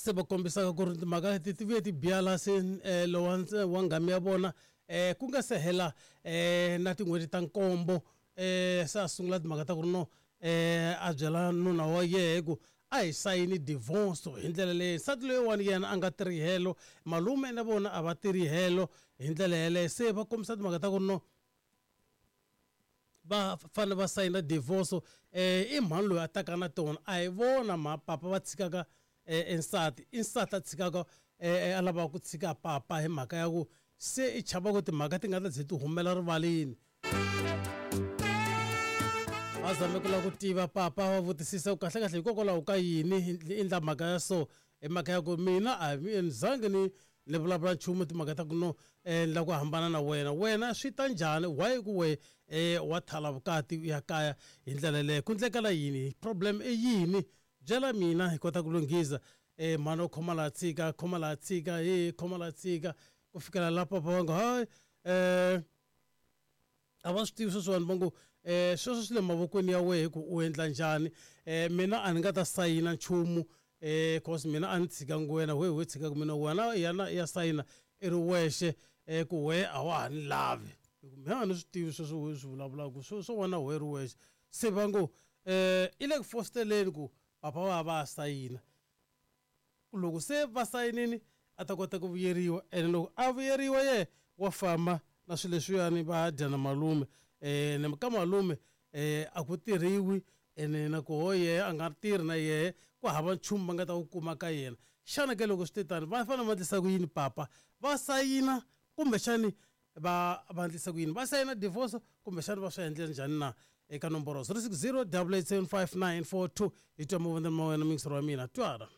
Se va kombisaka ku ri timhaka leti ti vuye ti biha laha se lowa wa nghamu ya vona ku nga se hela na tin'hweti ta nkombo se a sungula timhaka ta ku ri no a byela nuna wa yehe ku a hi sayini divorce hi ndlela leyi nsati loyiwani yena a nga tirhi helo malume na vona a va tirhi helo hi ndlela yeleyo se va kombisa timhaka ta ku ri no va fanele va sayina divorce i mhani loyi a taka na tona a hi vona ma papa va tshikaka e nsati i nsati a tshikaka a lavaka ku tshika papa hi mhaka ya ku se i chava ku timhaka ti nga ta ze ti humela rivaleni va zame ku lava ku tiva papa va vutisisa ku kahlekahle hikokwalaho ka yini i endla mhaka ya so hi mhaka ya ku mina a ni zangi ni ni vulavula nchumu timhaka ta ku no ni lava ku hambana na wena wena swi ta njhani why ku we wa thala vukati u ya kaya hi ndlela leyo ku ndlekela yini problem i yini byela mina hi kota ku lunghisa mhani u khoma laha tshika khoma laha tshika he khoma laha tshika ku fikela la papa va ngo hayi a va swi tivi sweswiwani va ngo sweswo swi le mavokweni ya wehe ku u endla njhani mina a ni nga ta sayina nchumu cause mina a ni tshikangi wena wehe we tshikaka mina wena yana ya sayina i ri wexe ku wehe a wa ha ni lavi hi ku mina a ni swi tivi sweswo we swi vulavulaka swo wena we ri wexe se va ngo i le ku fositeleni ku papa va va sayina loko se va sayinini a ta kota ku vuyeriwa ene loko a vuyeriwa ye wa famba na swilo leswiyani va dya na malume um ka malume um a ku tirhiwi ene na koho yehe a nga tirhi na yehe ku hava nchumu va nga ta wu kuma ka yena xana ke loko swi te tani va fanele va endlisa ku yini papa va sayina kumbexani va va endlisa ku yini va sayina divorce kumbexani va swi endle njhani na eka nomboro 060 875 942 hi twa mavonelo ma wena muyingiseri wa mina twala.